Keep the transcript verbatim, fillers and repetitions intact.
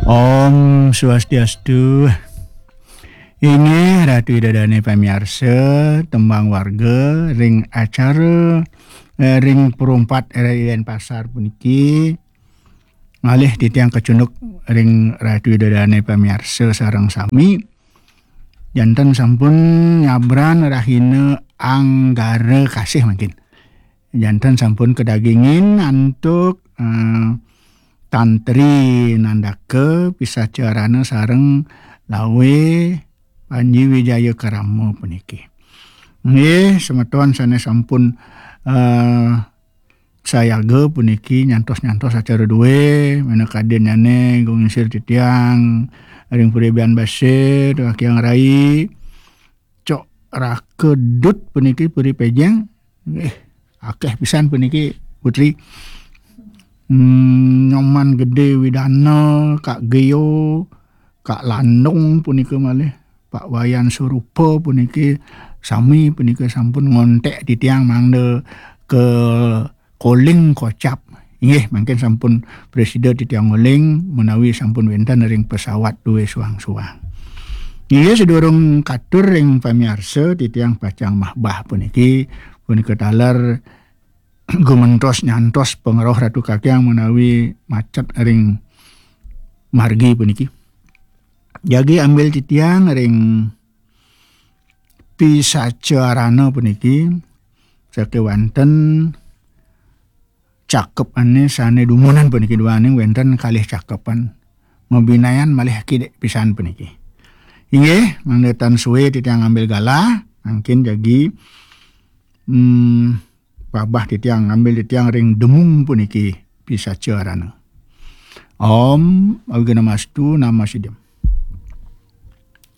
Om Swastiastu. Inggih Ratu Ida Dane pamiarsa, tembang warga ring acara, eh, ring perumpat R R I Denpasar puniki, ngalih titiang kacunduk ring Ratu Ida Dane pamiarsa sareng sami. Janten sampun nyabran rahina Anggara Kasih mangkin. Janten sampun kadagingin antuk, eh, Tan Tri Nandaka Pisacarana sareng Lawe Panji Wijaya Karama puniki. Nggih, semeton sane sampun, eh, sayaga puniki nyantos-nyantos acara due, minakadinnyane Gung Insir titiang ring Puri Bian Basir, Wakiang Rai, Cok Raka Dut puniki Puri Pejeng. Eh, akeh pisan puniki, Putri. Hmm, Nyoman Gede Widana, Kak Geo, Kak Landung punika malih, Pak Wayan Surupa puniki, sami punika sampun ngontek titiang mangda ke koling kocap. Inggih, mangkin sampun presida titiang ngoling menawi sampun wenten ring pesawat due suang-suang. Inggih, sedurung katur ring pamiarsa, titiang pacang mahbah puniki, punika taler gumentos nyantos pangrauh Ratu Kakiang menawi macet ring margi puniki. Jagi ambil titiang ring Pisacarana puniki, sakewanten cakepane sane dumunan puniki duaning wenten kalih cakepan. Mabinayan malih kidik pisan puniki. Inggih, mangda tan suwe titiang ngambil galah, mangkin jagi, hmm, pabah titiang ngambil titiang ring demung puniki Pisacarana. Om Awighnamastu Namasidham.